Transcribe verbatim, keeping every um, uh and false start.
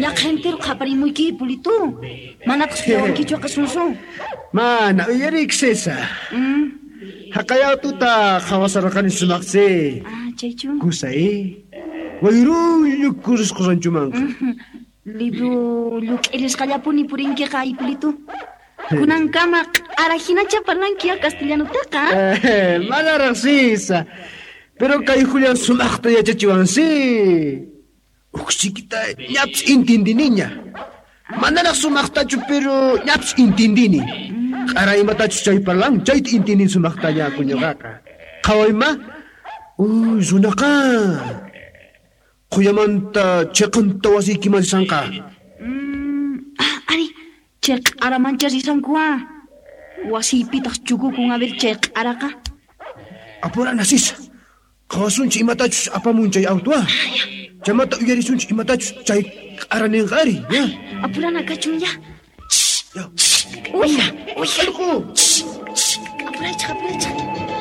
Ñaqha entero qaparimuyki, Hipolito. Manataq suyawankichu qasunsun. Mana uyarik César. Mm. Haqay tuta qhawasarqani sumaqsi. Ah, chaychu. Kusa, eh? Wayrullu kurisqa ranchumanqa. Libro lluk'irisqallapuni purinkiqa, Hipolito. Kunankama q'ara hinacha parlanki ya castellanotaqa. Eh, manaraq Sisa. Pero kay Julián sumaqta yachachiwansi. Uqsikita ñapis intindiniña. Manaraq sumaqtachu, pero ñapis intindini. Q'ara imatachus chay parlan, chayta intindin sumaqtaña kuñuqaqa. Qhawayma? Uy, runaqa. Quyamanta chiqanta wasiykiman risanqa. Mm, ah, ari, chay q'aramancha risanku ah. Wasiypitaq chukukun a ver chay q'araqa. Apurana Sisa. Qhawasunchik imatachus apamun chay auto ah. Chaymanta uyarisunchik imatachus chay q'ara ninqa ari, ya. Apurana kachun ya. Ya. Uy, uy. Allqu. Apuraychik, apuraychik.